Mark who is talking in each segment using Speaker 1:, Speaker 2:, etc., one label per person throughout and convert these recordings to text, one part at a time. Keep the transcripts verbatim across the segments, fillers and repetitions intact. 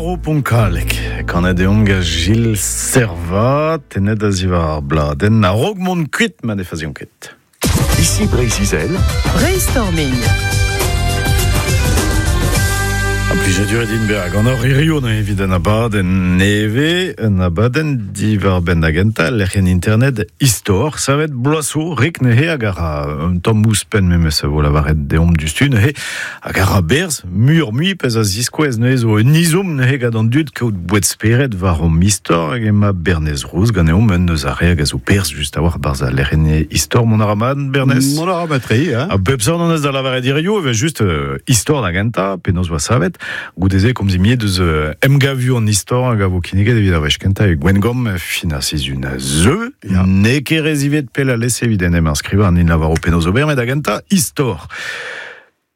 Speaker 1: Maro Ponkalek, kanet eomp ga Gilles Servat, tenet a zivar ar bladenn, a rog mont kuit ma ne fazion ket.
Speaker 2: Ici Breizh-Izel.
Speaker 3: Brainstorming.
Speaker 1: A plijadur edin berag an ur hirio na evit an abadenn neve, an abadenn diwar benn agenta, lec'hien internet istor, savet bloazo, rik neuze hag ar un tamm ouzhpenn memes a vo lavaret deomp dustu neuze, hag ar berz, mur mui pez a ziskouez neuze zo un izom neuze gant an dud kaout bouet spered war om istor hag ema Bernez Rouz ganeomp un eus ar re hag a zo perz just a war barz a lec'hien istor mon aramad, Bernez?
Speaker 4: Mon aramatri, hein?
Speaker 1: A bep sort an eus da lavaret hirio, evel just euh, istor da genta, penaos oa savet, goudeze komzimiet deus euh, emgavu an istor hag a vo kinniget evit ar wech kenta e Gwengom fin ar sizhun a zeu,
Speaker 4: Ya.
Speaker 1: ne ket rezivet pel a lese evit en em inscriva an in lavaro penaos ober, met da genta istor.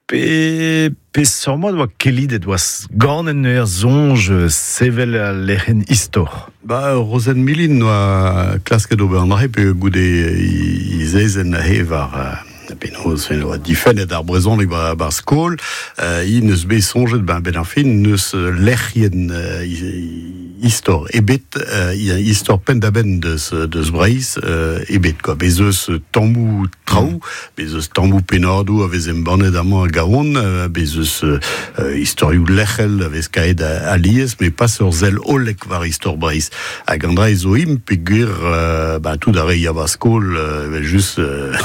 Speaker 1: Pe, pe sort oa kellidet oa gant en ur zonj sevel a lec'hen istor.
Speaker 4: Ba, Rozen Milin oa klasket ober an dra pe goude izezen he war euh, penaos fen oa difennet ar brezhoneg ba, bar skol, euh, i neus bet soñjet ben ben ar fin neus euh, lec'hien euh, i- istor ebet euh, i- istor penn-da-benn deus, deus Breizh euh, ebet quoi. Bez eus tammou traoù, bez eus tammou pennadoù a vez embannet amañ a gaon, euh, bez eus euh, istorioù lec'hel a vez kaet a, alies, mais pas ur sell hollek war istor Breizh. Hag an dra zo im peogwir euh, ba, tout ar re ya ba skol, euh, evel just euh,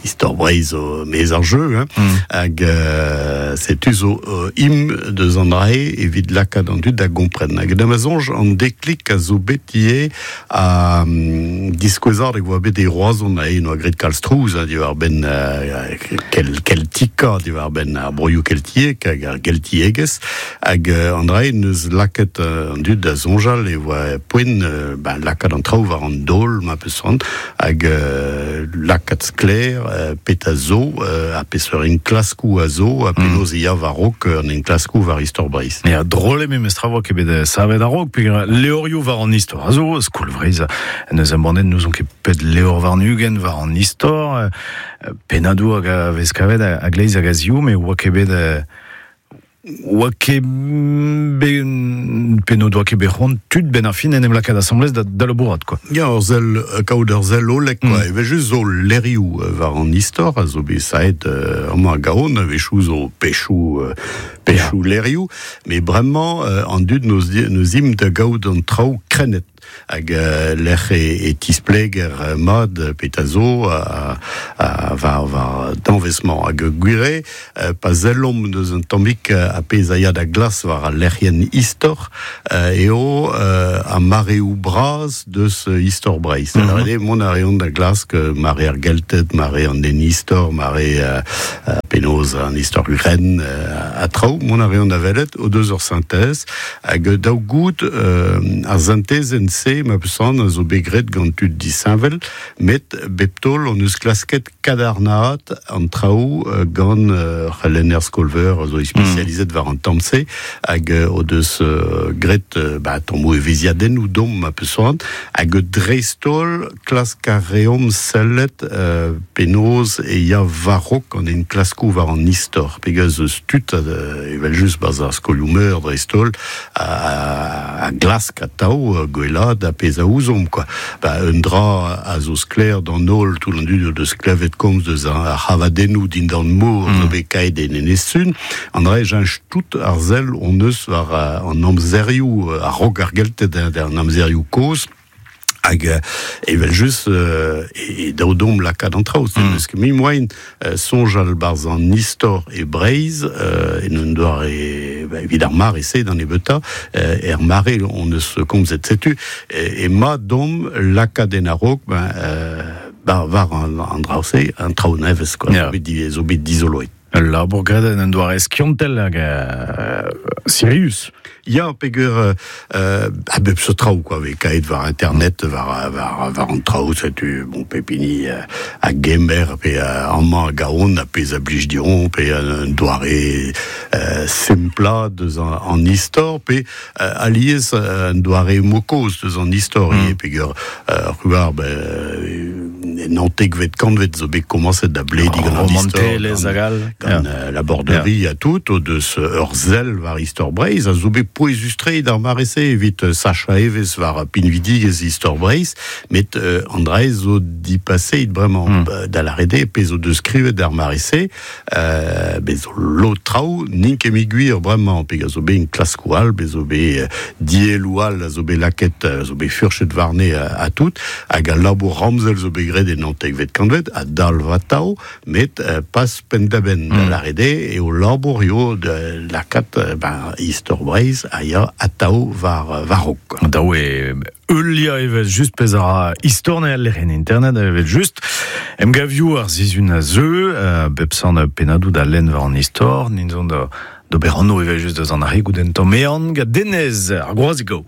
Speaker 4: istor Breizh zo mez ar jeu, hein.
Speaker 1: Mm.
Speaker 4: Hag euh, setu zo euh, im deus an dra evit lakaat an dud da gompren. Hag da ma soñj an deklik a zo bet ivez a um, diskouezard e oa bet e Roazhon a en oa graet kalz trouz, hein, diwar benn euh, kel, keltika, diwar benn ar broioù keltiek hag ar geltiegezh, hag euh, an dra neus lakaet euh, an dud da soñjal e oa poent euh, ben, lakaat an traoù war an daol ma peus c'hoant, hag euh, lakaat sklaer euh, pet a zo, euh, a peseurt enklaskoù a zo, a penaos e ya war-raok an enklaskoù war istor Breizh.
Speaker 1: Ya, drôle memes tra oa ket bet euh, savet a-raok, peogwir levrioù war an istor a zo, skol Vreizh, neus embannet nous on ket pet levr war nugen war an istor, euh, pennadoù hag a vez kavet a, a gleiz hag a ziv, met oa ket bet euh, oa ket ben, penno doa ket bet c'hoant tud ben ar fin en em lakaat asamblez da, da labourat, quoi.
Speaker 4: Ya, ur sell, euh, kaout ur sell hollek, quoi.
Speaker 1: Mm.
Speaker 4: Evel just zo lerioù euh, war an istor, a zo bet saet euh, amañ a gaon, a-wechoù zo pechoù, euh, pechoù lerioù, met bremañ euh, an dud neus, di- neus im da gaout an traoù krennet. Hag euh, lec'h e, e tispleger euh, mat euh, pet a zo a, a, war, war danvez-mañ. Hag gwire, euh, pa sellomp deus un tammig euh, a pezh a ya da glas war al lec'hien istor, euh, eo euh, a mareoù bras deus euh, istor Breizh. Mm
Speaker 1: Mhm.
Speaker 4: -hmm. Mont a reont da glask euh, mare ar Gelted, mare an den istor, mare euh, euh, penaos an istor gren euh, a traoù, mont a reont da welet o deus ur sintez, hag daou gout euh, ar sintezenn se ma peus c'hoant a zo bet graet gant tud disheñvel, met bep taol on eus klasket kadarnaat an traoù euh, gant euh, c'helenner skolveur a zo spesializet war an tamm-se, hag euh, o deus euh, graet euh, ba, tammoù evezhiadennoù domp ma peus c'hoant, hag dreist-holl klask a reomp sellet euh, penaos e ya war-raok an enklaskoù war an istor. Peogwir eus tud, euh, evel just barzh ar skolioù meur dreist-holl, a, a, a glask atav euh, gwellaat a pezh a ouzomp, quoi. Ba, un dra a zo sklaer d'an holl, tout an dud o deus klevet komz deus ar, ar c'havadennoù dindan mor mm. zo bet kaet en Enez-Sun, an dra e cheñch tout ar sell on eus war euh, an amzerioù, euh, a-raok ar Gelted, hein, an amzerioù kozh, hag euh, evel just euh, e, e daou domp lakaat an traoù. Mm. Eus ket mi moaien euh, soñjal barzh an istor e Breizh, euh, en un doare, ba, evit ar mare se d'an ebeuta, euh, er mare on eus komzet setu, e, e ma domp lakaat en a-raok, ben, euh, ba, war an, an draoù-se, an traoù nevez, quoi.
Speaker 1: Ya.
Speaker 4: Zo bet di- zo bet dizoloet.
Speaker 1: Ul labour graet en un doare skiantel hag euh, sirius.
Speaker 4: Ya, peogwir euh, euh, a bep seurt traoù, quoi, vez kaet war internet, war, war, war an traoù, setu, bon, pep hini euh, a gemer, pe euh, amañ a gaon, a pezh a blij diron, pe un doare euh, sempla deus an, an istor, pe euh, alies euh, un doare mokoz deus an istor, mm. peogwir euh, c'hwar, ben, naontekvet kantved zo bet komañset da blediñ gant an istor.
Speaker 1: Romantelezh hag all.
Speaker 4: Gant yeah. la borderie yeah. a tout, o deus ur sell war istor Breizh, a zo bet pouezus-tre d'ar mare-se evit sachañ evezh war pinvidigezh istor Breizh, met euh, an dra zo dipaseit bremañ mm. da lâret eo pezh o deus skrivet d'ar mare-se, euh, bez zo lod traoù n'int ket mui gwir bremañ, pe a zo bet enklaskoù all, bez zo bet dielloù all a zo bet lakaet, a zo bet furchet warne a, a tout, hag al labour ramzel zo bet graet e naontekvet kantved, a dalv atav, met euh, pas penn-da-benn mm. da lâret eo eo labour eo da lakaat ben, istor Breizh a ya atav war war-raok.
Speaker 1: Dav eo heuliañ evel just pezh a ra istor ne al lec'hienn internet evel just. Emgavioù ar sizhun a zeu, euh, bep sant pennadoù da lenn war an istor, nin zon da d'ober anv evel just deus an arre goude un tamm ehan gant Denez, ar Groazig Aour.